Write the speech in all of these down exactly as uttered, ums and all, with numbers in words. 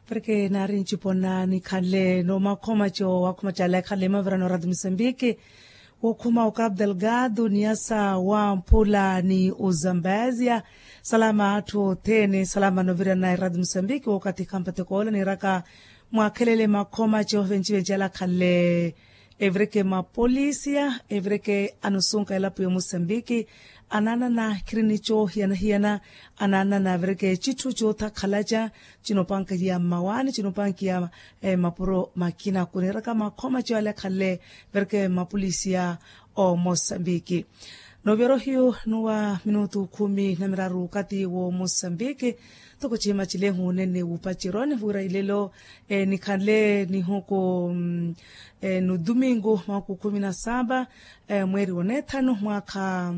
Parke naari ncipona nikhanle nomakhomaco wakhomaco ale akhanle mavirano rati musambiki, wokhuma okapu delgado niyasa wamphula ni uzambazia. Salama atthu othene salama novirana erati musambiki wokathi khampatekoola niiraka mwakhelele makhomaco venci venci ale akhanle evireke mapolisia evireke anusunka elapo ya musambiki. Anaanana khiri ni coohiyana-hiyana anaanana avireke citthu coothakhalaca cinoopankiya mmawaani cinoopankiya mapuro makina kuniiraka makhomaco ale akhanle evireke mapolisia o musambiki. Nooviyorohiyo nuwa minutu khumi na miraru okathi wo musambiki. Toko cihima cilehu nene wupaceroni wira ilelo nikhanle nihuku nudumingu mwaku khumi na saba mweeri wa neethanu mwaakha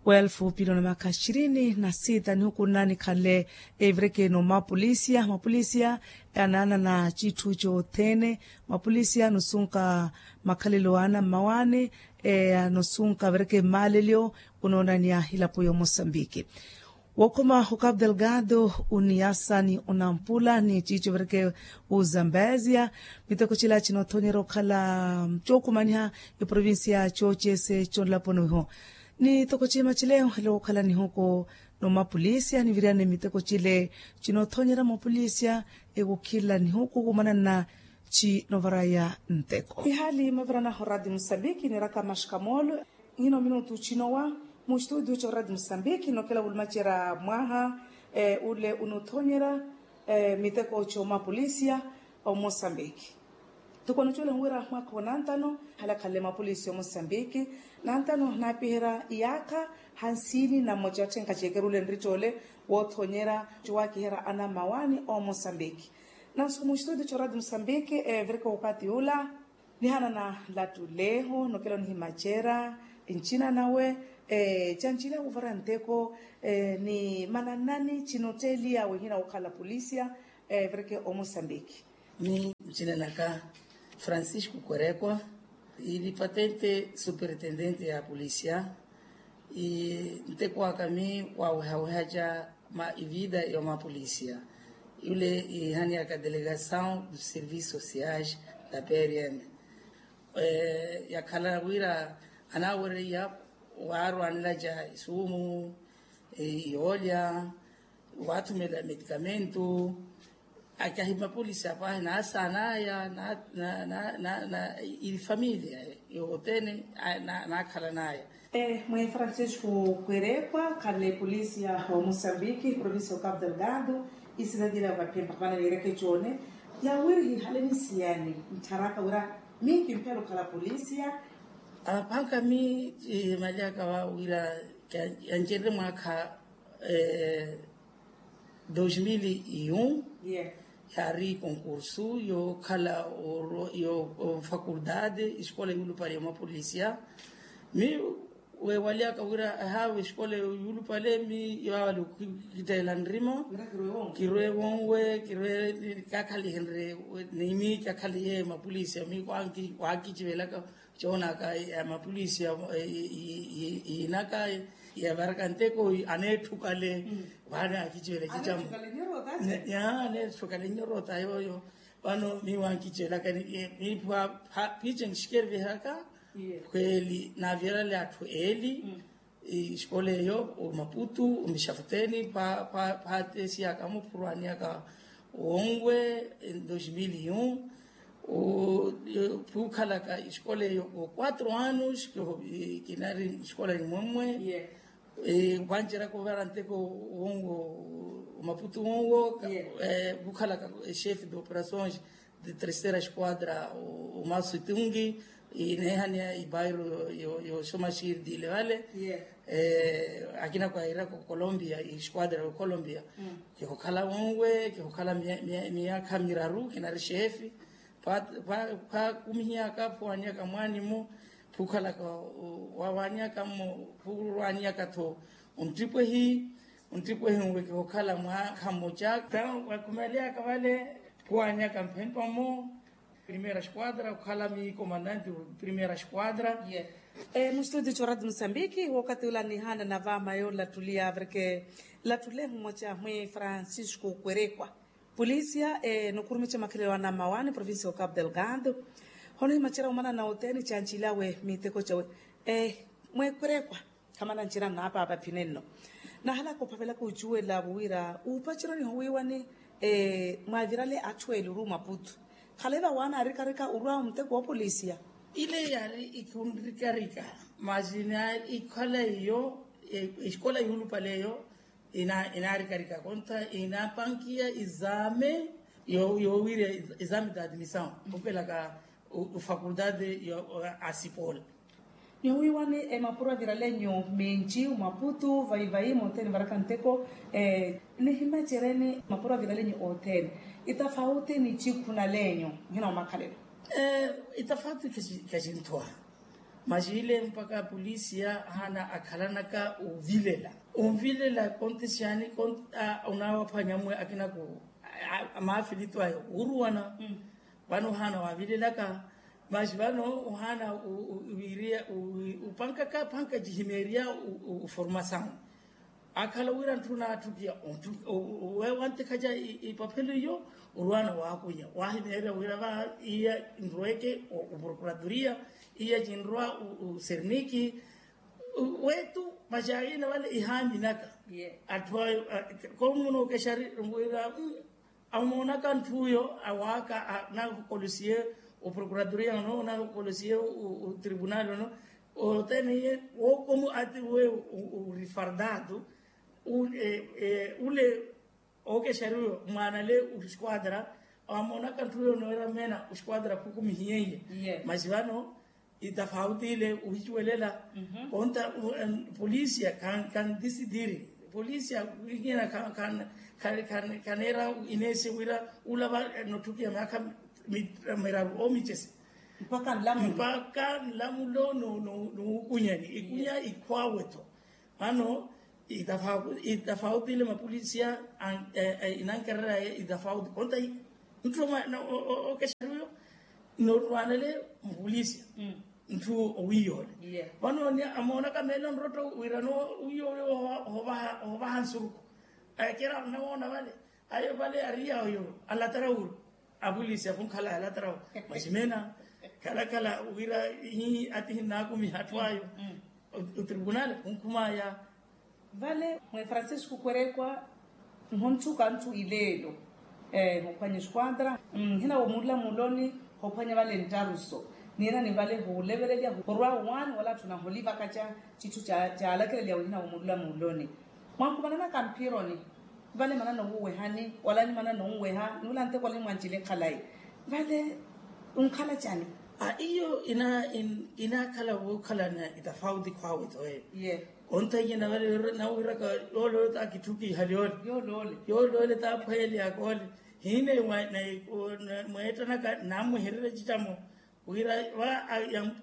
wa elfu pili na maka ishirini na sita nihuku nna nikhanle evireke no mapolisia mapolisia anaanana citthu cothene. Mapolisia nusunka makhalelo ana mmawaani nusunka avireke mmalelyo unoonaniya hilapo yo musambiki. Wokhuma okapu delgado uniyasa ni unampula ni ciico vireke uzambazia. Miteko cila cinoothonyera okhala cookumaniha eprovincia coocese conlaponi wiho. Ni toko cihima cile ohela wookhala nihuku nomapolisia niviriyane miteko cile cinoothonyera mapolisia ewukhila nihuku wumananna. Cinovaraya nteko ihaali maviranaho rati musambiki niiraka maxkamolo. Nyino minutu cinowa mustudio corati musambiki nokela wulumacerya mwaha ule unuthonyerya miteko comapolisia. Omusambiki tukonucuwela nwira mwaakha wa nantano halakhanle mapolisia omusambiki. Nantano naapiherya iyaakha hansini na mmoca watthenka ceekerule nrittole woothonyerya cuwakiherya anammawaani omusambiki. Nansuku mustudio corati musambiki evirika okathi ula nihanana nlattuleho nokela onihimacerya ncina nawe. Cancila wuvara nteko ni mananani cinotteeliya wihina wokhala polisia evireke omusambiki. Mi ncina naka francisco kwerekwa ili patente superintendente ya polisia. Nteko aka mi wawehawehaca ma ivida yomapolisia yule ihaniyaka delegasaw du service sociais da prm. Yakhala wira anawereiya waarwanilaca isumu yoolya waathumela medikamento. Akahi mapolisi apahi naasaanaya na na na na na ili familia yothene naakhalanaya. Mwe francisco kwerekwa khanle polisi ya mosambiki provincia ya cabo delgado. Isidadi ila vaphempa vana niireke coone yawiri hihaleni siyani ntharaka wira minki mphela okhala polisia. Apanka mi malyaka wawira yancerere mwaakha dos mil e um. Yaari concurso yookhala yo faculdade escola yuulupale ya mapolisia. Mi weewalyaka wira ahaawe escola yuulupale mi yaawali okitteela nrima kirwe wonwe kirwe kakhalihenrye ni mi kakhaliye mapolisia mi waakicivelaka. Coonaka ya mapolisi yiinaka yavaraka nteko aneetthukale. Vano akiciwela cicamo aneetthukale nyorota yooyo. Vano mi wankicelaka ni picen xikeriveheraka khweli naavirale atthu eeli. Escola eyo omaputu omixafuteni phaatesiyaka muphurwaniyaka wonwe. Dos mil e um phuukhalaka escola eyo o quatro anos kinari escola nimwemwe. Wanceraka ovara nteko wonwo omaputu wonwo. Phuukhalaka chefe de operações de terceira esquadra o masu tungi ineehaniya ibairo yoxomaxiri dile vale. Akina kwairaka ocolombia esquadra ya ocolombia kihokhala wonwe kihokhala miyaakha miraru kinari xeefi. Phakumihiyaka phuwaniyaka mwaanimo phukhalaka wawaniyaka mmo phuwaniyaka-tho. Ontipwehi ontipwehi nwe kihokhala mwaakha mmoca. Wakumeleyaka vale khuwaniyaka mphempa mmo primeira esquadra okhala mi comandante primeira esquadra. Mustudio corati musambiki wokati ula nihanana vamayo lattuliya avirke lattulehu mmoca mwi francisco kwerekwa. Polisia, nikurumica makhelelo anammawaani provincia ya okapu delgado. Hono himacerya omanana othene cancilawe miteko cawe. Mweekerekwa, khamana ncira nnapaapa phinenno. Nahalaka ophavelaka ocuwela wira upacerya onihowiiwani. Mwaavirale atthu eli ori omaputu, khale vawaana arikarika orwa omuteko woopolisiya. Ile yaari ikhunrikarika, masi ikhala iyo esikola yuulupale eyo inaarikarika konta inapankiya exame yoowirya exame da admissão, opelaka ofakultade ya asipol. Nihowiiwani emapuro avirale nyu minci omaputu vayi vayi mothene varaka nteko. Nihimacereni mapuro avirale nyu othene itafauti ni cikhunale nyu? Nhina omakhalelo. Itafauti kacinthowa, masi ile mpakha apolisiya ahaana akhalanaka ovilela, onvilela konti syani? Onaawaphwanya mwe akina ku maafilitu aya oruwana. Vano ohaana waavilelaka, masi vano ohaana wiiriya upankaka panka cihimeeriya oformasawu. Akhala wira ntthu naatthukiya, wantikhaca ipaphelo iyo, orwana waakunya waahimeerya wira va iya nrweke oprokuratoriya, iya cinrwa oserniki wetu. Masi ayina vale ihaaminaka atthu ayo, komuno okexari wira amoonaka ntthu uyo awaaka, nahukolosiye oprokuratoriya ono nahukolosiye otribunali ono, othene iye wookomu ati we orifardatu ule ookexari uyo mwaanale osquadra, amoonaka ntthu uyo noira meena osquadra khukumihiye iye. Masi vano itafauti ile ohicuwelela. Konta polisia khandisidiri, polisia wikina khaneera inesi wira ulava notthukiya myaakha miraru omicesi mpakha nlamulo nuukunyani ikunya ikhwaawe-tho. Vano itafauti ile mapolisia inankererya itafauti konta ntthu okexari uyo norwanele mupolisia ntthu owiiyoole. Vano amoonaka meelo nrotto wirano wiiyoole ohovaha nsuruku. Ekera nawoona vale ayo vale ariya oyo alatara wuro apolisi akhunkhala alatara wuro. Masi meena khalakhala wira ati hinnaakumiha atthu ayo otribunali khunkhumaya. Vale mwe francisco kwerekwa, nhonthuka nthu ileelo hophwanya esquadra, nhina womuulula muuloni hophwanya vale nttaruso nina ni vale hulevelelya horwa one wala atthu naholiva kaca citthu caalakelelya wihina womuulula muuloni. Mwankumananaka mphironi vale manana owuwehani wala ni manana onweha nuula nteko wala ni mwancile khalayi vale. Onkhala cani? Iyo inaakhala wookhalana itafauti khwaawe-tho eyo. Onthaiyana vale nawiraka yooloole taakitthukihali ole yooloole taaphweyeleyaka ole. Hine mweettanaka naamwehererya ecittamo wira va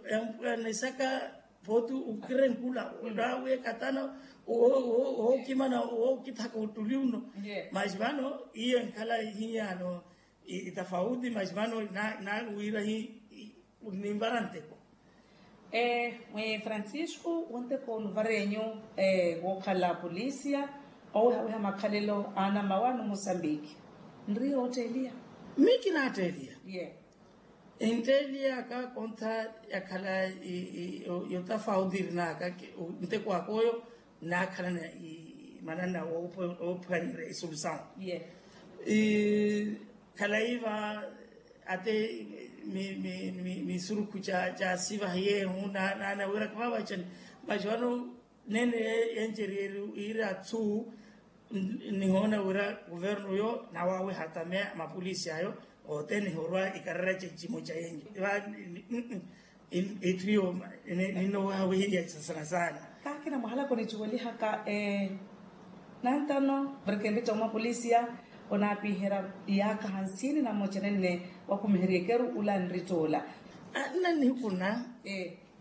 yampwanisaka pooti okirenkula onaawekatana ookimana ookithaka ottuli uno. Masi vano iyo enkhala hiyano itafauti masi vano naawira hi ninvara nteko. Mwe francisco wonteko onuvarenyu wookhala polisia owehaweha makhalelo a anamawaani musambiki nriye ootteeliya? Miyo kinaatteeliya. Entteeliyaka kontha yakhala yotafauti irinaka nteko aka oyo nnaakhalana manana oophwanyerya esolusawu. Khalayi va ate misurukhu ca sivaha yeehu naana wira kavavacani. Masi vano nene yenceriyeri yiiri athu nihoona wira kuvernu yo nawawe hatameya mapolisi ayo othene horwa ikarara cecimo ca yenyu. Itthu iyo ninno wehaweheriya sasana saana. Kaakina mwahalaka onicuwelihaka nantano murikempi ca omapolisiya onaapiherya iyaakha hansini nammocene nne wakumiherya ekeru ula nritt'ula. Nna nihukuna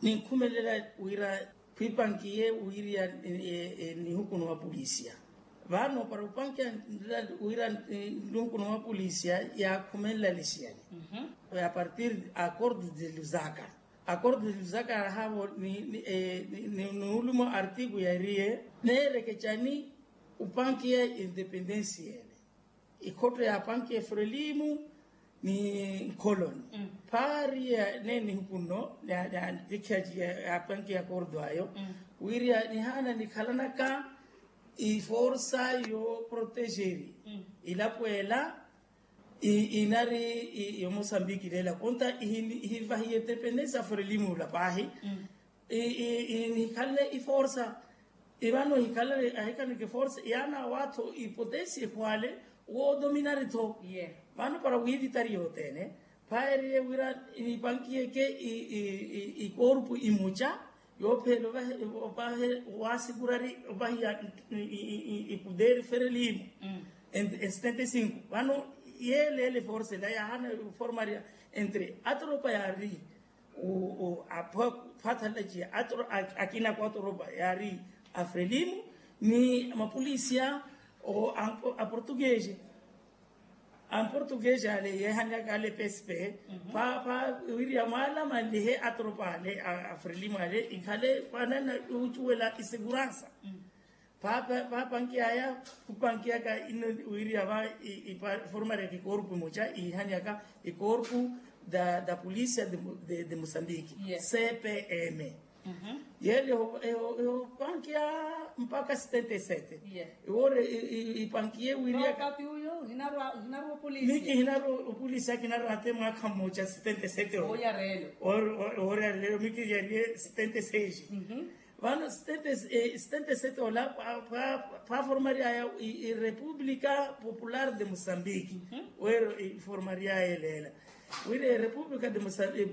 ninkhumelela wira khwipankiye wiiriya nihukuna wa polisiya. Vano para opankiya wira nihukuna wa polisiya yaakhumenla nisiyani. Apartir akordo de lusaka akordo de lusaka yahaavo niuluma artiku yairiye neerekecani opankiya independensiya ele. Ikhotto ya panki ya frelimu ni nkholoni. Phaari ya neene nihuku nno, ya panki ya kordo ayo, wiriya nihaana nikhalanaka iforsa yooprotejeri ilapo ela inari yomosambiki leela konta ihivahiye tepene sa frelimu ula paahi. Inikhalle iforsa ivano ahikhalle ahikhaneke forsa yaana awaatho ipotesi ekhwaale woodominari tho. Vano para wiivitari yothene phaeriye wira nipankiyeke ikorpu imuca yoopheela ovahe waasigurari ovahiya ipuderi ferelimu. Setenta e cinco vano yeeleele forsa ela yaahana formaria entre atropa yaari phathalalaciya akina kwatoropa yaari afrelimu ni mapolisia aportuguese. Amportuguese ale yeehanyaka ale pespe pha wiriya mwaala manlihe atropa ale afrelimu ale ikhale panana ucuwela iseguransa. Paapankiyaya khupankiyaka ino wiriya va iformariyaka ikorpu imoca ihanyaka ikorpu da polisia de mosambiki cpm. Yeele ehopankiya mpaka setenta e sete iwoore ipankiye wiriya miki hinarwa opolisia kinarwa ate mwaakha mmoca setenta e sete owoore areleyo miki yariye setenta e seis. Vano setenta e sete ola paaformaryaya irepublika popular de mosambiki weero iformaryaya eleela wira erepublika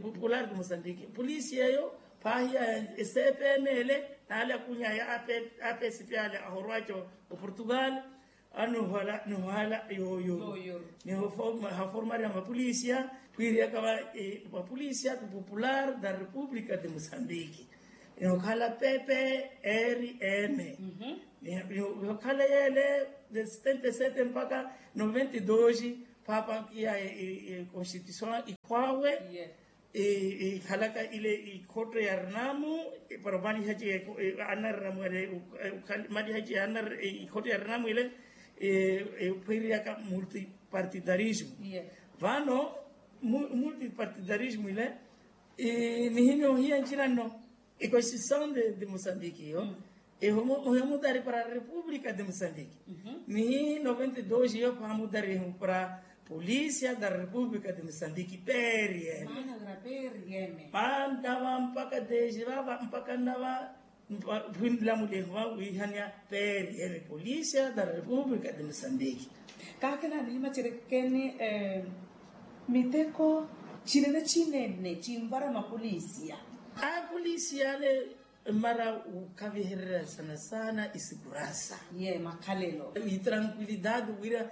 popular de mosambiki polisi eyo paahiya esepemele naale akunyaya apesipi ale ahorwaca oportugal. Anohala nohala yooyo nihaformarya mapolisia khwiiriyaka va mapolisia popular da republika de mosambiki. Nihokhala pepe eri eme nihokhala yeele de setenta e sete mpaka noventa e dos. Paapankiya econstituision ikhwaawe ikhalaka ile ikhotto ya rinamu para omalihaci anarinamu ele malihaci ikhotto ya rinamu ile ephwiriyaka multipartidarismu. Vano multipartidarismu ile nihimya ohiya ncina nno econstituision de mosambiki iyo eho mudari para republika de mosambiki. Nihi noventa e dos iyo pha mudari eho para polisia da republika de mosambiki perieme mantava mpaka desi vava mpaka nnava. Phwinlamuliho va wihania perieme polisia da republika de mosambiki. Kaakina nihimacerekeni miteko cinene cinene cinvara mapolisia. Apolisia ale mmara wukhavihererya sana sana isiguransa ye makhalelo itrankuilidade wira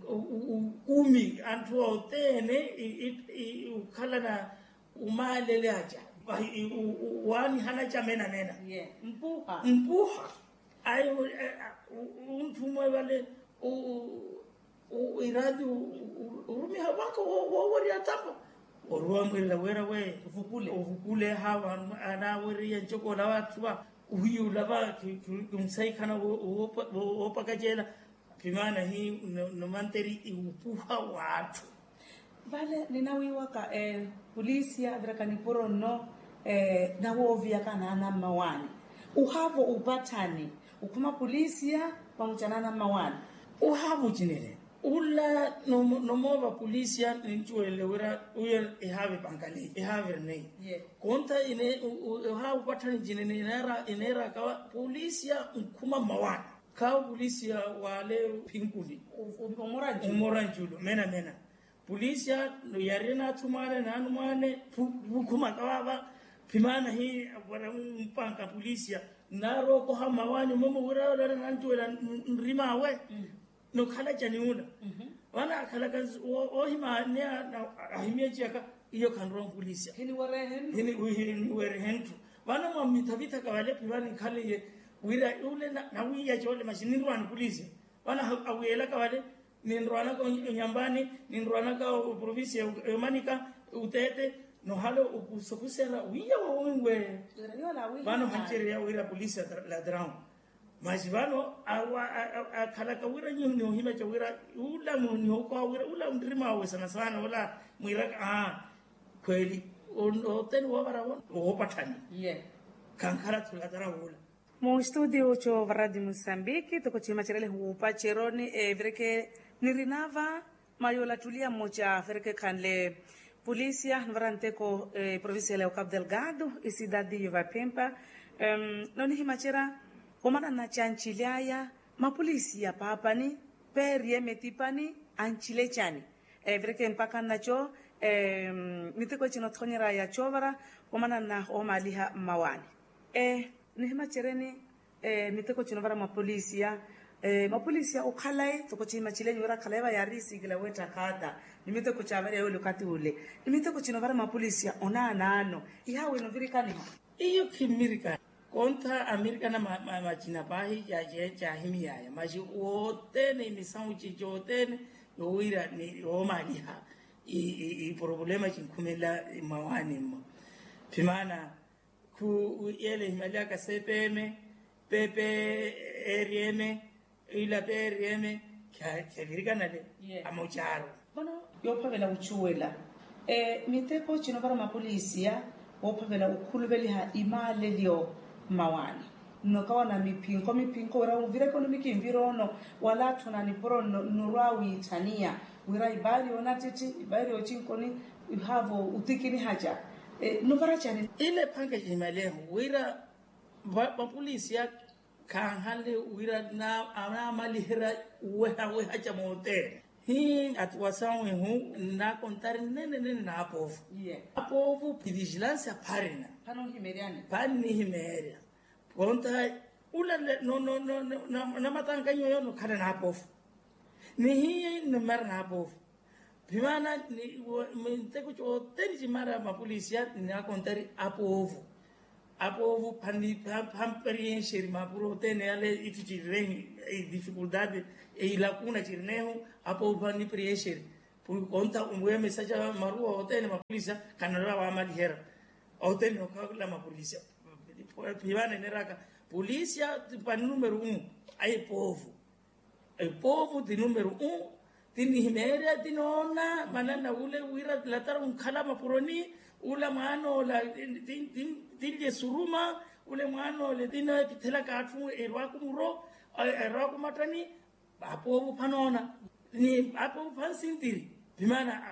ukumi anthu othene ukhalana umaalele aca waanihana aca mena mena mpuha ayi unthu umwe vale irati urumiha vaka wowerya tapa oruwa mwirira wira we ovukule hava anaweriya ncokoola vatthu va uhiya ulava kimusaikhana woopakacela. Pimaana hi nomanteri iwupuha w'atthu. Vale ninawiiwaka polisia aviraka nipuro nno nawooviyaka naana mmawaani. Uhaavo upatthani ukhuma polisia pamuca naana mmawaani. Uhaavo ucinile ula nomoova polisia nincuwelele wira uyo ihaave pankali ihaave rnei. Konta ohaavo upatthani cinene ineeraka polisia nkhuma mmawaani. Khawo polisia wale phinkuni umora nculu mena mena polisia yari naathu mwaane naanu mwaane vukhumaka vava. Phimaana hi para mpanka polisia nnaari okoha mmawaani momo wira yole ari nancuwela nrimawe. Nokhalaca ni ula vana akhalaka oohimaaneya ahimyeciyaka iyo khanrowa mpulisiya hiniwerehe ntthu. Vana mwamithavithaka vale phiva ninkhalaiye wira ule nawiiyaca ole maxi ninrwaani pulisiya. Vana awiyelaka vale ninrwaanaka onyambani ninrwaanaka oprovincia yomanika uteete nohala okusokusela wiiya wawinwe. Vana ohancereya wira pulisiya ladraun Masi vano akhalaka wira nyu nihuhimaca wira ula munihukowa wira ula nrima wawe sana sana ula mwiraka aa, khweli oteni woovara wo woopatthani. Khankhala thulatara wula. Mu studio coova radi musambiki toko cihimacerele huupaceroni evireke nirinava. Mayola ttuliya mmoca afereke khanle polisia nuvara nteko provincial ya okapu delgado isidadi yovapimpa. Nonihimacerya omanana cancilyaya mapolisi ya paapani peeriye mitipani ancilecani. Evireke mpakha nnaco miteko ecina othonyerya ya coovara omanana oomaliha mmawani. Nihimaceryeni miteko cino vara mapolisiya mapolisiya okhalayi toko cihimacilenyu wira akhalayi va yaari isikila weetta khaata ni miteko caavarya yoole okathi ule ni miteko cino vara mapolisiya onaanaano. Ihaawino virikaniha? Iyo khimmirikana. Kontha amirikana macina paahi caahimiyaya masi wothene imisawu cicothene yowira ni yoomaliha iporobolema cinkhumelela mmawaani mmo. Phimaana khu yeela ehimaliyaka cpm, pepe, eriyeme, ila periyeme khavirikanale amocaaro. Vano yoophavela ocuwela miteko cino vara mapolisiya woophavela okhuluveliha imaalelyo mmawaani. Nnokawana miphinko miphinko wira ovira ekonomi kinviroono wala atthu na nipuro nnorwa wiitthaniya wira ibaari yoonattitti ibaari yoocinko ni ihaavo otikinihaca. Nuvara cani? Ile ephanke cimaleho wira mapolisiya khanhale wira anaamaliherya uwehaweha ca mootere hii atuwa sawehu nnaakontari nnenenene naapoovu. Apoovu phi vigilansi apharina. Phannihimeerya. Konta ula namatankanyo yono khana naapoovu. Nihiye nimara naapoovu. Phimaana minteko cothene cimara mapolisiya ninaakontari apoovu. Apoovu phanni phanni prienxeri mapuro othene yale itthu cirinehu idifikuldade ilakuna cirinehu apoovu phanni prienxeri. Puri konta weemesa ca maruwa othene mapolisiya khanarela waamaliherya. Othene okhala mapolisiya. Phimaana eneraka polisiya pani numero umu. Ayi poovu. Epoovu ti numero un. Ti nihimeerya ti noona manana ule wira latara onkhala mapuroni ula mwaan'ola tinlye suruma ule mwaan'ole ti noopithelaka atthu erwaaku muro erwaaku mattani. Apoovu phanoona ni apoovu phansintiri. Pimaana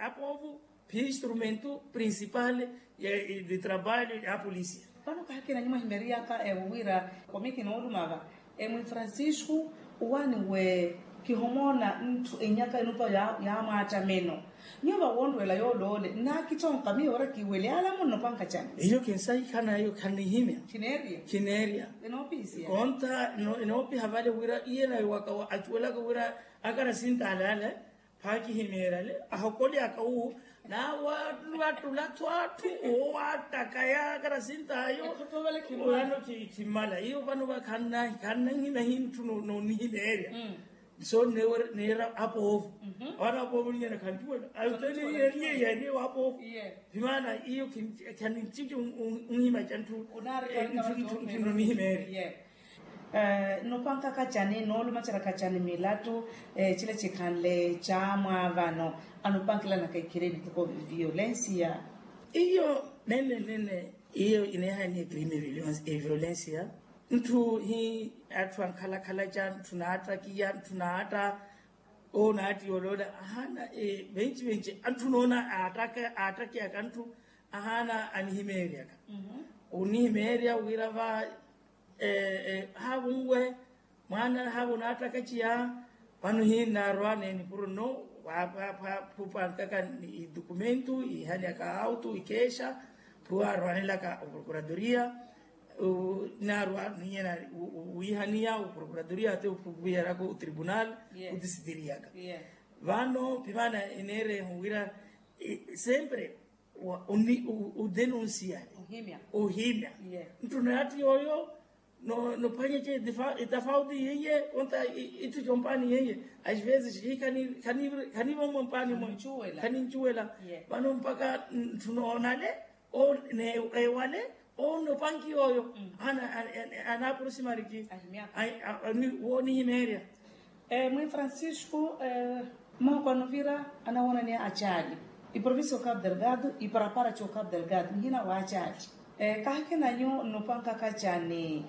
apoovu phi instrumento principal de trabalho ya polisia. Vano kaakina nyuma himeeriyaka ewo wira komiti nooluma va emwi francisco uwani we kihomoona ntthu enyaka enupa ya mwaattameno. Nyuva wonrwela yooloole nnaakittonka miyo ora kiiwelyaala munno pankacani. Iyo kinsahikana iyo khanihimya. Khineerya. Konta enoopiha vale wira iye nayo waka acuwelaka wira akarasinta ale ale phakihimeerya ale ahokolyaka wu naawattulatho atthu oowattakaya akarasinta ayo. Ano khimmala iyo vano khannanhimya hinthu noonihimeerya. So neera apoovo. Awana apoovo ninyana khancuwela ayo teniye niye yaniye wapoovo. Phimaana iyo khanincinci unhima ca ntthu nonihimeerya. Nnupankaka cani noolumaceraka cani milattu cila cikhanle ca mwaavano? Anupankilanaka ikhirini toko violensiya. Iyo nene nene iyo ineehaniye crime violensiya. Ntthu hi atthu ankhalakhala ca ntthu naattakiya ntthu naatta. Owo naattiya oloola ahaana venci venci anthu noona aattakiyaka anthu ahaana anihimeeryaka. Onihimeerya wira va haavo nwe mwaana haavo naattakaciya. Vano hiinaarwa neeni puro nno phupankaka idokumento iihanyaka auto ikeexa phuwa arwanelaka oprokuratoriya. Naarwa ninyena wiihaniya oprokuratoriya ate ophuwiyaraka otribunal. Otisitiriyaka vano pimaana eneereho wira sempre odenunsiya ohimya. Nttu naatti yooyo nophwanya ce itafauti yeiye onta itthu compaani yeiye. As vezes khanivomo mpaani mwe khanincuwela vano mpaka ntthu noonale ewale. Owo nnopanki yooyo. Anaapurusimariki. Woonihimeerya. Mwi francisco, mmooko anuvira anawoonaniya acaali, iprovincia o capu delgado iparapara co capu delgado nihina wa acaali. Kahikina nyu nnopanka kacani?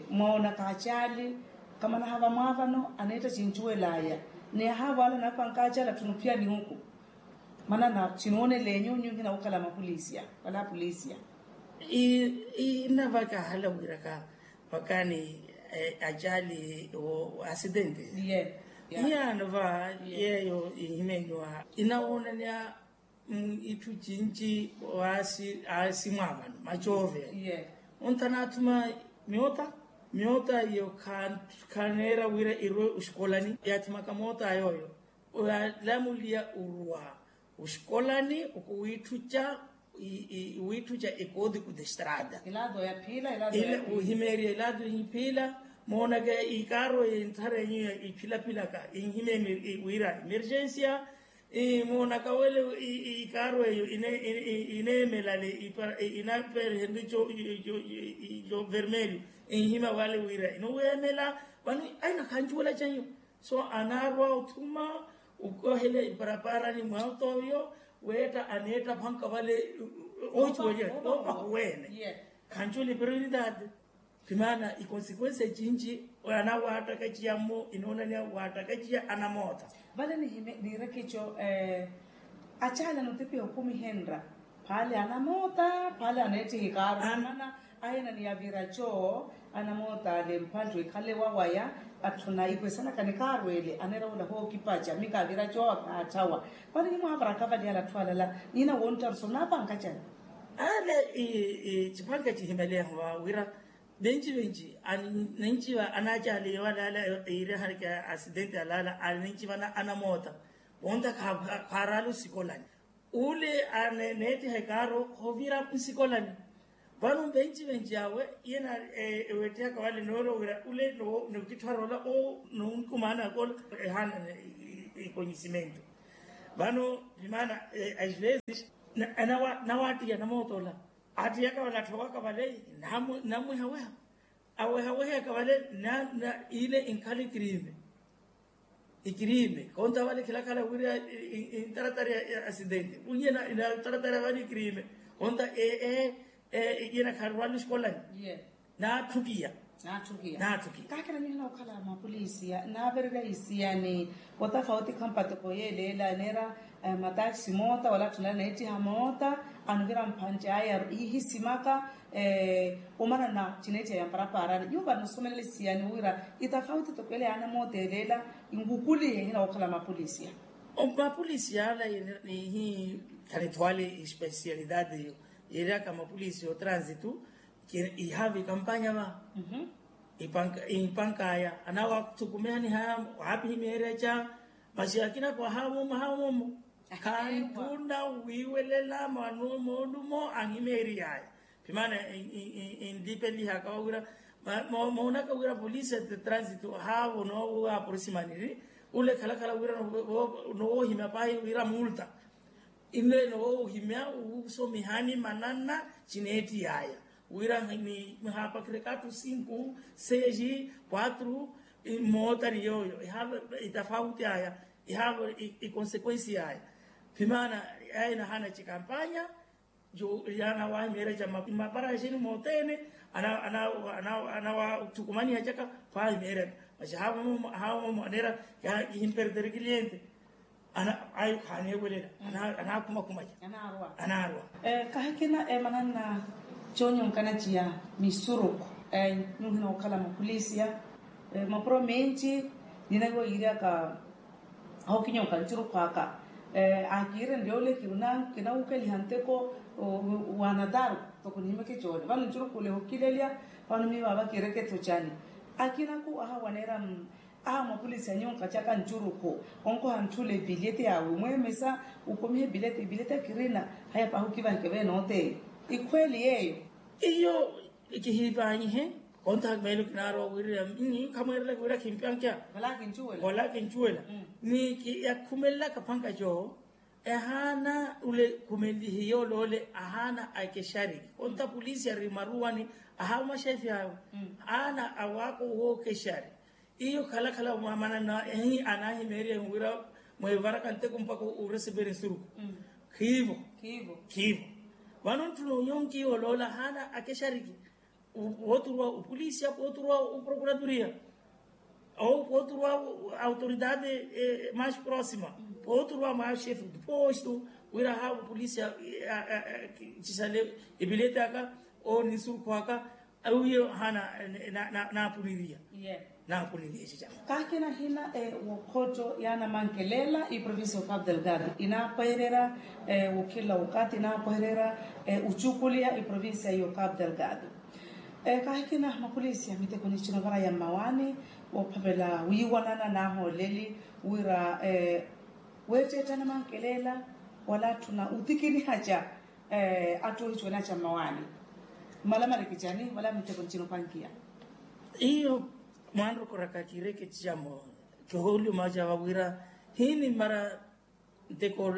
Mmoona ka acaali kamana hava mwaavano aneetta cincuwelaya. Ni ahaavo ale anapanka acaali atthuna ophiya nihuku. Manana cinooneleenyu nyu nhinawukhala mapolisia wala apolisia. Innavaka ahala wiraka vakani acaali wa asidente. Iyaano va yeeyo inhimeenyuwa inawoonanya itthu cinci. Aasi mwaavano macoovela. Ontha anaathuma miota miota iyo khaneera wira irwe oxikolani yaathimaka moota yooyo. Oyalamuliya orwa oxikolani okuwiitthuca wiitthuca ekodiku de estrada. Ohimeeriya ilato iphiila moonaka ikaaru entharenyu iphilapilaka inhimeni wira emergencia. Moonaka wele ikaaru eyo ineemelale inaperehenru ico vermelho inhima wale wira inoweemela. Vano aina khancuwela canyu. So anaarwa othuma okohela iparaparani mwa otoyo weetta aneetta phanka vale. Ocuwelya opahuwene. Khancuwela iperonidade. Pi maana ikonsekwensi ecinci anawaattakaciya mmo inoonaniya waattakaciya anamoota. Vale nihime niireke eco. Acaala notipiha okumihenra phaale anamoota phaale aneettiha ikaaru. Mana ahina ni yavira co anamoota ale mpanttu ekhale wawaya. Atthuna ipwesanaka nikaaru ele aneera wula hookipaca mika avira co. Aathawa vano nimwaavara akavali ale atthu alala nina wonttaru so naapanka cani? Ale cipanka cihimeleeho vawira venci venci ninci va anacaali wala ala iirehani ka asidenti alala ali ninci vana anamoota. Vonta khaarala osikolani ule aneettiha ekaaru hoovira nsikolani. Vano venci venci awe iyena ewettihaka wale noorowira ule nokittharoola. Nonkumaanaka ola ehaana ekonyisimento. Vano vimaana as vezes nawaattiya namoota ola aattiyaka vale atthowaka vale namwihaweha. Awehaweheyaka vale ile inkhala ikirime ikirime konta vale khilakhala wira intaratari ya asidente unye inataratari ya vale ikirime konta iyena kharwala osikolani. Naatthukiya. Naatthukiya. Naatthukiya. Kaakira nihina okhala mapolisiya naavererya isiyani otafauti khampatoko yeeleela neera mataxi moota wala atthuna neettiha moota anuvira mphantte aya ihisimaka. Omanana cineettiha ya mparapaarani nyuva nnosomelela isiyani wira itafauti toko ele yaana moota eleela nkukulihe hina wookhala mapolisiya. Mapolisiya ala nihi khalitho ale espesialidade iyo yeeryaka mapolisiya otransitu. Ihaavi kampanya va ipankaya anawathukumihani haya waapihi meerya ca masi akina ko ahaamoomo ahaamoomo. Khanttuna wiiwelela mwanuwo moolumo anhimeeriyaya. Pi maana inlipelihaka wawira moonaka wira polisi de transitu ahaavo noowo aporisimaniri ule khalakhala wira nowohimya pahi wira multa. Inle nowohimya wusomihani manana cineettiyaya wira ni mihaapakireka atthu sinku seji kwatru. Mmoota ni yooyo ihaavo itafauti aya ihaavo ikonsekwensi yaya. Pi maana aya inahaana cikampanya. Yaana wahimeerya ca maparaxini mootene anawathukumaniha caka. Paahimeerya masi ahaavo moomo aneera kihimpertere kiliente. Ayo khaneewelela anaakhumakhumaca anaarwa. Kahikina emananna coonyonkana ciya misuruku nyuhina okhala mapolisiya. Mapuro menci ninahiwa yiiryaka aho kinyonka ncurukhwaka akiirenrya ole kinawukeliha nteko. Wa nataru toko nihimeke coole vano ncurukhule hokilelya. Vano miivaava kiireke tho cani akinaku ahawaneera. Aha mwapolisi anyonka caka ncurukhu onkoha ntthuula epilyeti yawe mweemesa. Ukomiha epilyeti epilyeti akirina haya pahi okivaheke veenooteye. Ikhweeli yeeyo iyo kihiivanyihe. Kontaha meelo kinaarwa wiirira khamweerela wiira khimpankeya. Wala kincuwela ni yakhumelelaka phanka coowo. Ehaana ule khumelihiye oloole ahaana akexari. Onta polisi ari maruwani, ahawa maxefi awe. Ahaana awaaka owookexari. Iyo khalakhala mwamanana ehi anahimeeriya wira mwevaraka nteko mpakha oreseperi nsuruku. Khiivo. Khiivo. Vano ntthuna onyonkiya oloola ahaana akexariki. Wooturuwa opolisiya, wooturuwa oprokuraturiya, wooturuwa autoridade mais proxima, wooturuwa maxefe de posto, wira ahaava opolisiya. Cisale epileti aka, owo ninsurukhu aka, awiye hana naapuniriya. Naapuniriya eci cama. Kaakina hina wokhotto yaanamankelela iprovincia ya okapu delgado inaapwehererya, wokhila okapu inaapwehererya ocukuliya iprovincia ya okapu delgado. Kaahikina mapolisi ya miteko ni cinovaraya mmawaani, woophavela wiiwanana n'ahooleli wira weetteetta anamankelela wala atthuna otikinihaca atthu oohicuwelaca mmawaani. Mmalamalekicani wala miteko ni cinopankiya. Iyo mwanrokoraka kiireke camo kihoolumacava wira hinimmara nteko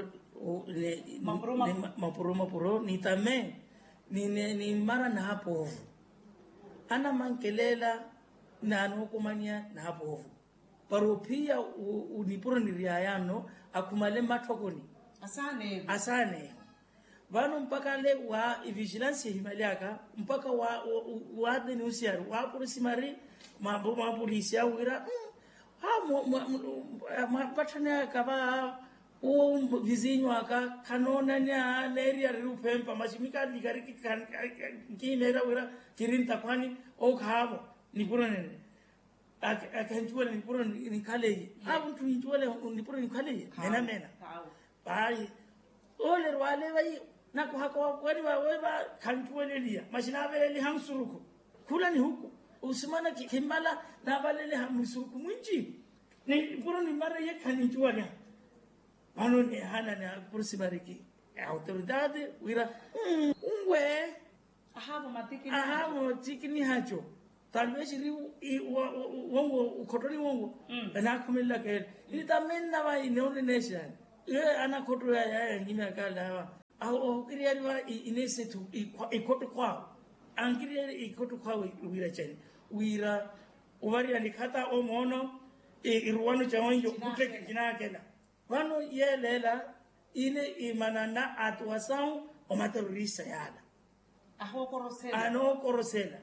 mapuro mapuro nitame nimmara naapoovo. Anamankelela naanookomaniya naapoovo para ophiya nipuro niriyaya nno akhumale mmatthokoni. Asaaneeho. Vano mpakha ale wa ivigilansi ehimali aka mpakha wa wa wa denunciari wa purisimari mwapolisi awo wira mwapatthaneyaka va uwo vizinyu aka khanoonanya neeriyariri uphempa maximika nikariki nkiimeerya wira kiri ntakhwani owo khaavo nipuro nene akhancuwela nipuro nikhaleiye awo ntthu nincuwela nipuro nikhaleiye mena mena. Pahi ole erwale vai nakuhaka wakuwani vawe va khancuweleliya maxi naaveleliha nsurukhu khula nihuku usimana khimmala naavaleliha mwisurukhu mwinci nipuro nimmara iye khanincuwaliha. Vano nihana ni apurisimariki autoridade wira unwe ahaavo matikinihaco talvexiri wongo ukhottoni wongo vanaakhumelelaka ele nitamenna vai neonenexani. Ye anakhotto yaya yanyimyaka lava aho ohukiriyari va inesethu ikhotto khwawe ankiriyari ikhotto khwawe wira cani wira ovariya nikhata omoono iruwano ca onjo khutteke kinaakela. Vano yeeleela ile imanana atuwasawu omaterorista yaala anookorosela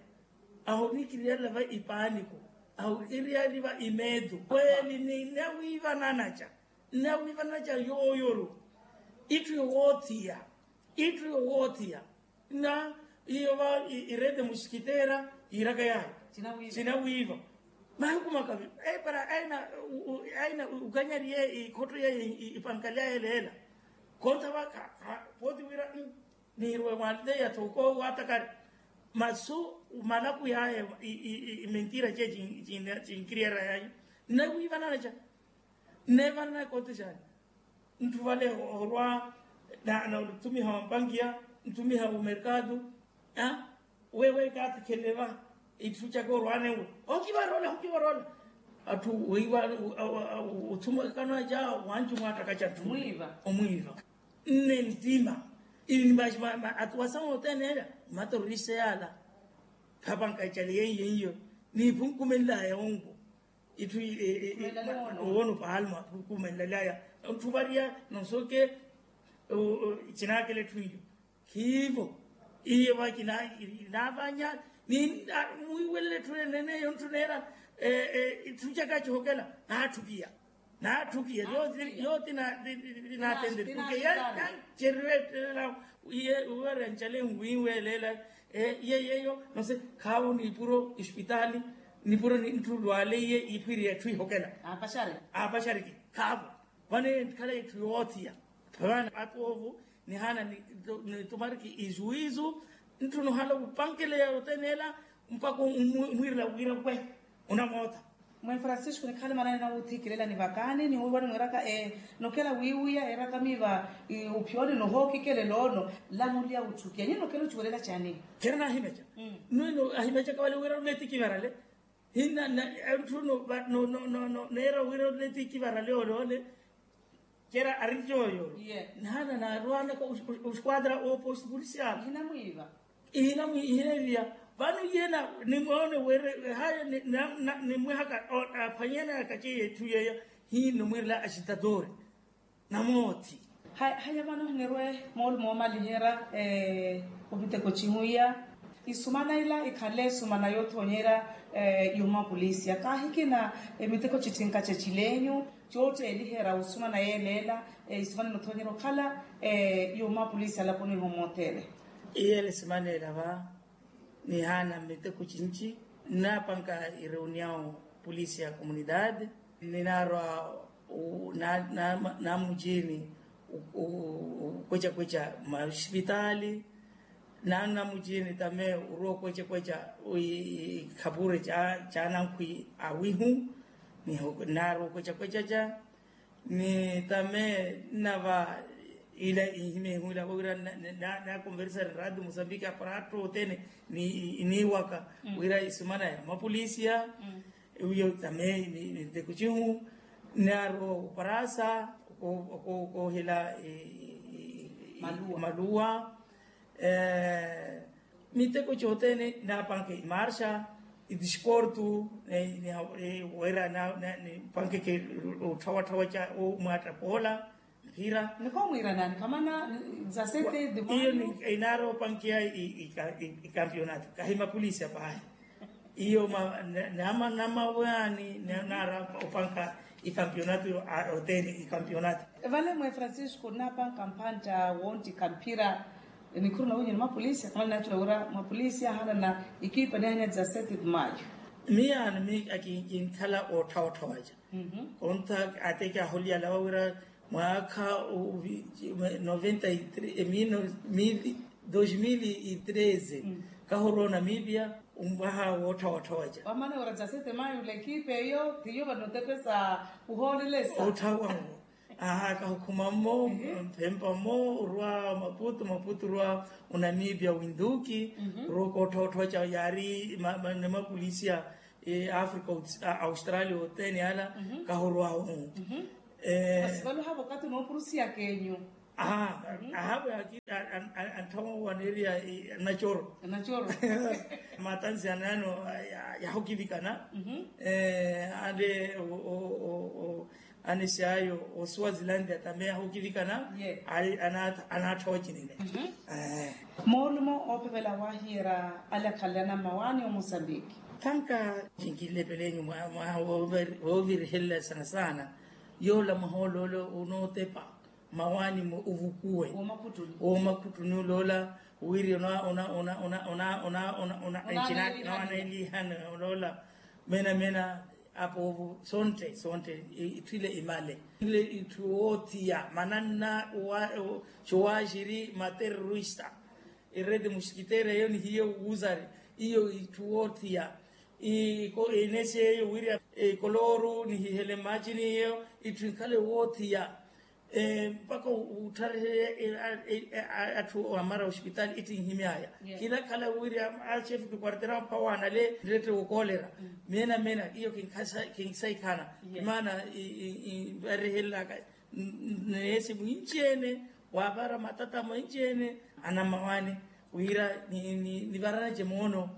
ahoniikiriyarela va ipaaniko ahoniikiriyarela va imeeto kweli ninawiivananaca ninawiivananaca yooyoru itthu yowoothiya itthu yowoothiya na iyo va irede musikitera yiiraka yayo sinawiiva mahiku makavi para aina ukanyariye ikhotto yaye ipankali yaye leela kontha va pooti wira niirwe mwalteya thoko watakari masu malaku yaye imentira ce cinkiriyera yaye nnawiivananaca nneevanana ekote xaani ntthu vale orwa na othumiha wampankiya nthumiha omerkado wewe katikhelele va itthu caka orwanewe okivaroola okivaroola atthu weiva othumekano aca wanci omwaattaka ca tthu omwiiva nne ntima atuwasa mooteneela omaterorista yaala khapanka icale yeiyo niiphunkumenlaya onko itthu owoona opaalma khumenlelaya ntthu variya nonsoke cinaakela etthu iyo khiivo iyo va kinaavanya mwiiwelela etthu eneneyo ntthu neera etthu caka cihokela naatthukiya naatthukiya yooti naatenteri porke yanceriwe ettela iye uwera ncale nwiiwelela iye yeyo nose khaavo niipuro espitali nipuro ntthu lwale iye iphwiriya etthu ihokela aapaxariki khaavo vano entkhala etthu yoothiya vano apoovo nihana nitumariki ijuizu ntthu nuhala wupankeleya yoteneela mpakha omwiirela wira we onamootha mwe francisco nikhale manani nawuuthikilela nivakaani niwiiwani mwiiraka nokela wiiwiya eeraka miiva ophiyooni nohookikelela ono lamuliya wutthukiya nyini nokela ocuwelela cani kheera naahimeca nwino ahimecaka vale wira onetikivarale hina ntthu neera wira onetikivarale ole ole Cera ari jooyo. Naana naarwanaka osquadra oposto polisial. Ihinamwiiva. Ihinamwiiva ihinamwiiva. Vano yena, nimoone were haya nimwehaka aphwanyanaka ceiya etthu yeeyo. Hino mwiirela axitatori namoothi. Haya vano hinerwe moolumo oomaliherya omiteko cihuiya. Isumana ila ikhanle isumana yoothonyerya yoomapolisiya kaahikina emiteko cittinka cecilenyu. Cootteeliherya osumana yeeleela isumana enothonyerya okhala yoomapolisiya alaponi iho mothene. Iyeele simana ela va nihaana miteko cinci. Nnaapanka ireuniao polisiya komunidade ninaarwa namuciini. Okwecakweca masipitaali naana namuciini tame orwa okwecakweca ikhapure caanankhwi awihu. Ninaarwa okwecakweca ca ni tame nnava ila inhimya ihuwila vawira nakonversari radio mosambiki aparaatto othene iniiwaka wira isumana ya mapolisiya. Wiyo tame miteko cihu ninaarwa oparasa okoohela maluwa. Miteko cothene naapanke imarxa idisportu wira nipankeke otthawatthawa ca omwaatta poola mpira. Nikoomwiira nani kamana? Zasete iyo inaari opankeya ikampionato kahi mapolisiya paahi. Iyo namawaani naari opanka ikampionato. Othene ikampionato. Vale mwe francisco nnapanka mpantta wontti ikampira. Nikhuru nawinyu ni mapolisiya kamana naacula wira mapolisiya ahanana ikipa nihaniya dizasete de mayo. Miyaano miya kinkhala otthawatthawaca. Konta ate kyaholiyala wawira mwaakha noventa y tres mil dos mil y treze. Kahorowa onamipia ompwaha wootthawatthawaca wamana wira dizasete mayo ula ekipa eyo tiyo vanotepesa. Kuhoolelesa otthawa. Aha kahukhuma mmo mphempa mmo orwa maputu maputu orwa onamipia winduki. Orwa okootthotthoca yaari ni mapolisiya africa australia othene ala. Kahorwahu. Masi vale ohavo okati onoopurusiya kenyu. Aha aha antthama waneeriya anacoro. Anacoro matansi anano yahokivikana. Ale anisyayo osuwazilandia tame ahokivikana. Anaatha ocinene. Moolumo oopevela waahiyerya ale akhanle anammawaani omosambiki. Thanka cinkilepelenyu mwaha woovirihelela sana sana. Yoola mwaha ole ole onootepa mmawaani ovukuwe woomakhuttuni oloola wiri onaaneelihana oloola. Mena mena apoovo sontte sontte itthu ile imale. Ile itthu woothiya mananna cowaxiri materrorista erede muskiteera eyo nihiye wuuzari iyo itthu woothiya. Inesi eyo wiri ikoloru nihihele mmaacini iyo itthu inkhale woothiya. Mpakha utthariheye atthu amara ospitali ittinhimyaya. Kinakhala wiri achefe kikwartera mphawaana ale nrette wokoolera. Mena mena iyo kinsayikhana. Maana varihelelaka neesi mwinci-ene waavara matata mwinci-ene anammawaani wira nivaranace moono.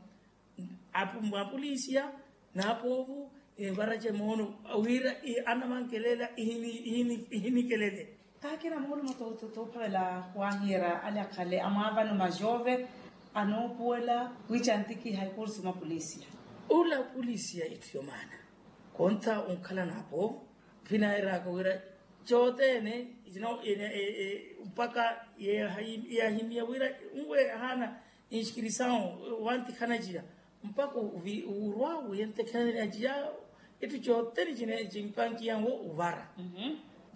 Apolisiya n'apoovu envarace moono wira anavankelela ihinikelele. Kaakina moolumo toophavela waahiyerya ale akhale amwaavano majove anoopuwela wiicantikiha ekursu mapolisiya. Ula polisiya itthu yomaana kontha onkhala n'apoovu. Khinaayeraka wira cothene mpakha yahimiya wira nwe ahaana inskirisawu wantikhana ciya mpakha wurwa wiyentekhana ciya. Itthu cothene cimpankiyanwo uvara.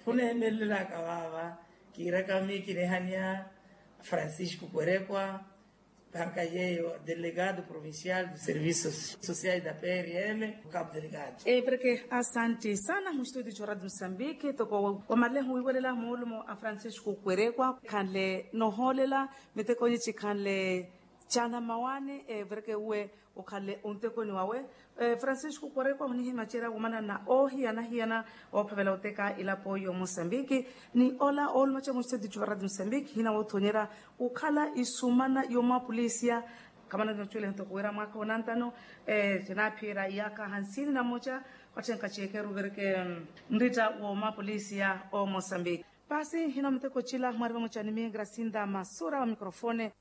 Khuneemelelaka vaava kiiraka miyo kinehaniya francisco kwerekwa. Panka yeeyo delegado provincial de serviços sociais da prm o cabo delegado. Epreke asante sana mustudio coradio mosambiki toko wamaleho wiiwelela moolumo a francisco kwerekwa khanle nohoolela mitekonyi cikhanle. Caana mmawaani epreke uwe Okhanle ontekoni wawe. Francisco korekwa hunihimacerya womanana oohiyana-hiyana oophavela oteka ilapo yo mosambiki. Ni ola oolumaca muciteti cuva radio mosambiki hinawothonyerya okhala isumana yo mapolisiya. Khamana nocule ntoko wira mwaka onantano cinaphiira iyaka hansini na moca. Watthenkha cekeru vereke nrita wo mapolisiya o mosambiki. Pasi hina muteko cila mwari vamoca ni miingra sinda masura wa mikrofone.